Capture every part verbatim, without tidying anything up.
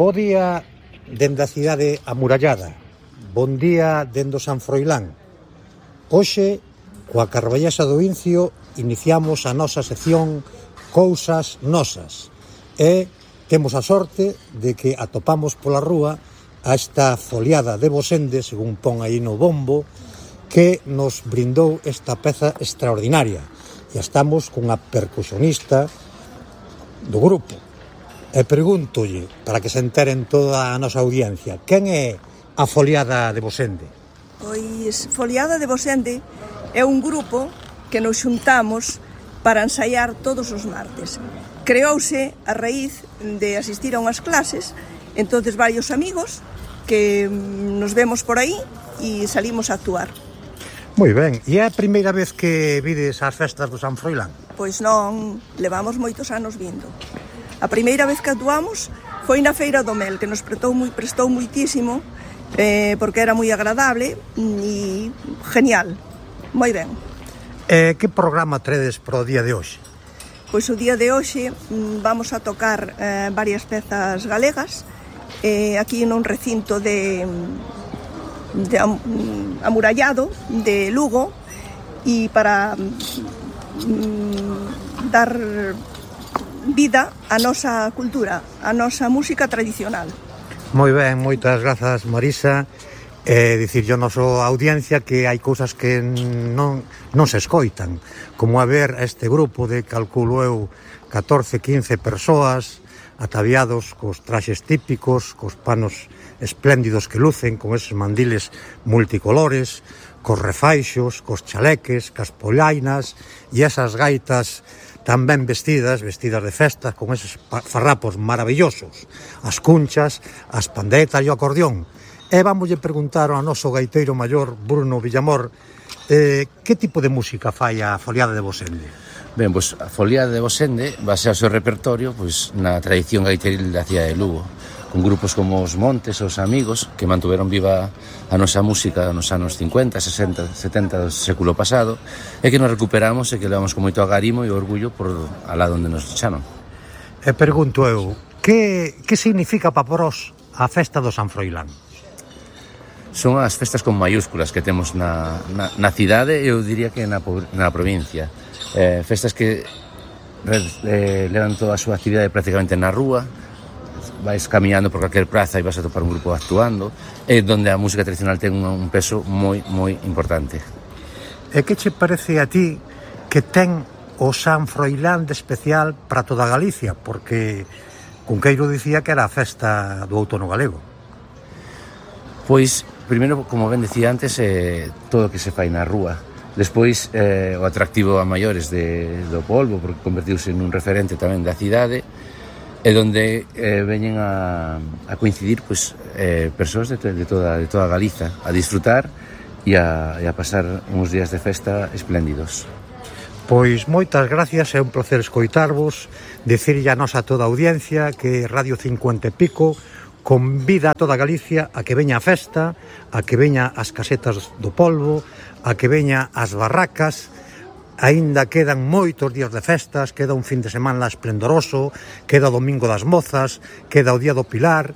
Bo día dende a cidade amurallada. Bon día dende o San Froilán. Hoxe, coa Carballesa do Incio, iniciamos a nosa sección Cousas Nosas. E temos a sorte de que atopamos pola rúa a esta foliada de Bosende, según pon aí no bombo, que nos brindou esta peza extraordinaria. E estamos cunha percusionista do grupo. E pregúntolle, para que se enteren toda a nosa audiencia, quen é a Foliada de Bosende? Pois Foliada de Bosende é un grupo que nos xuntamos para ensaiar todos os martes. Creouse a raíz de asistir a unhas clases, entonces varios amigos que nos vemos por aí e salimos a actuar. Moi ben, e é a primeira vez que vides as festas do San Froilán? Pois non, levamos moitos anos vindo. A primeira vez que actuamos foi na Feira do Mel, que nos prestou, moi, prestou moitísimo, eh, porque era moi agradable e genial, moi ben. Eh, que programa tredes para o día de hoxe? Pois o día de hoxe vamos a tocar eh, varias pezas galegas, eh, aquí nun recinto de, de am, amurallado de Lugo, e para mm, dar vida á nosa cultura, á nosa música tradicional. Moi ben, moitas grazas, Marisa. E dicirlle ao noso audiencia que hai cousas que non, non se escoitan, como a ver a este grupo de, calculo eu, catorce, quince persoas ataviados cos traxes típicos, cos panos espléndidos que lucen, con eses mandiles multicolores, cos refaixos, cos chaleques, cas polainas e esas gaitas tan ben vestidas, vestidas de festa, con eses farrapos maravillosos, as cunchas, as pandetas e o acordeón. E vamos a preguntar ao noso gaiteiro maior, Bruno Villamor, eh, que tipo de música fai a Foliada de Bosende? Ben, pois a Foliada de Bosende basea o seu repertorio pois, na tradición gaiteril da cidade de Lugo, con grupos como os Montes, os Amigos, que mantuveron viva a nosa música nos anos cincuenta, sesenta, setenta do século pasado, e que nos recuperamos e que levamos con moito agarimo e orgullo por alá onde nos chaman. E pergunto eu, que, que significa para vós a festa do San Froilán? Son as festas con mayúsculas que temos na, na, na cidade e eu diría que na, na provincia. Eh, festas que eh, levan toda a súa actividade prácticamente na rúa, vais camiñando por calquer praza e vas a topar un grupo actuando, e donde a música tradicional ten un, un peso moi, moi importante. E que che parece a ti que ten o San Froilán de especial para toda Galicia? Porque Cunqueiro dicía que era a festa do outono galego. Pois, primeiro, como ben decía antes, eh, todo o que se fai na rúa. Despois, eh, o atractivo a maiores de, do polvo, porque convertiuse nun referente tamén da cidade, e donde eh, veñen a, a coincidir pois, eh, persoas de, de, toda, de toda Galiza a disfrutar e a, e a pasar uns días de festa espléndidos. Pois moitas gracias, é un placer escoitarvos, dicirlle a nosa toda a audiencia que Radio cincuenta e pico convida a toda Galicia a que veña a festa, a que veña as casetas do polvo, a que veña as barracas. Aínda quedan moitos días de festas, queda un fin de semana esplendoroso, queda o Domingo das Mozas, queda o Día do Pilar.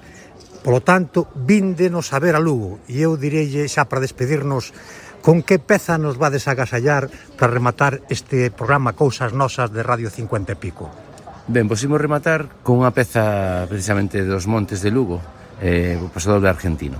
Polo tanto, víndenos a ver a Lugo. E eu direlle, xa para despedirnos, con que peza nos vades a agasallar para rematar este programa Cousas Nosas de Radio cincuenta e pico? Ben, pois imos rematar con unha peza precisamente dos Montes de Lugo, eh, o Paso Doble argentino.